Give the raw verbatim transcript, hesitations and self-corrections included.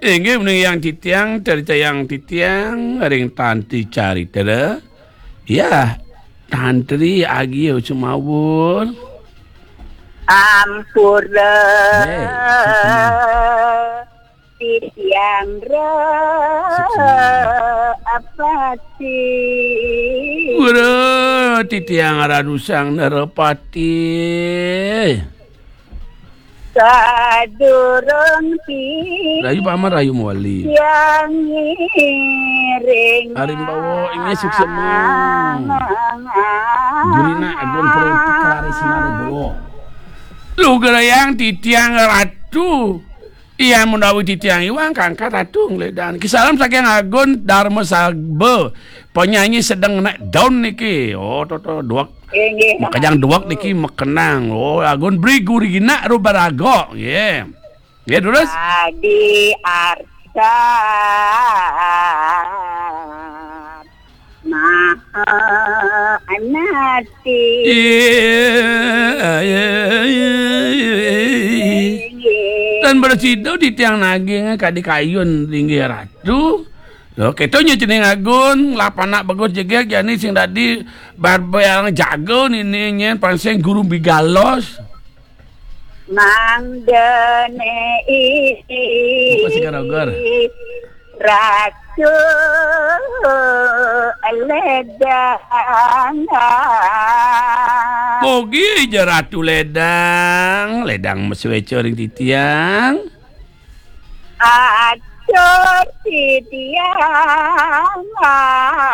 Inggih menawi titiang, carita yang titiang ring Tantri Carita. Ya, Tantri Agia Sumawur. Ampura. Nggih, suksma. Titiang ra Suksma. Apati. Pura titiang Ratu Sang Narapati. Sadurung ti Rayu Paman, Rayu Mawali. Yang ngiring Arimbawa, inggih suksma. Gurina Agung Pro Putra Risma Rebowo. Lugrayang titiang Ratu. Iya, menawi titiang iwang kangkat Ratu ngledan. Ki salam saking Agung Darma Sagba. Penyanyi sedang naik daun niki. Oh, to, to, duwek. Inggih. Makejang duwek niki makenang. Oh, Agung Bri Gurina Rubaraga. Nggih. Nggih, terus? Adi Arsa Maha Anati. Iya, iya, iya, iya. Inggih. Tan bersida titiang naging kadi kayun linggih Ratu. Lho, keto nya cening Agung, lapanak bagus jegeg jani sing dadi barbayang jaga nini nyen pansing guru bigalos. Mangdane i Apa sing karo, Gor? Ratu Ledang. Mugi ja Ratu Ledang, Ledang masueca ring titiang. Atur titiang.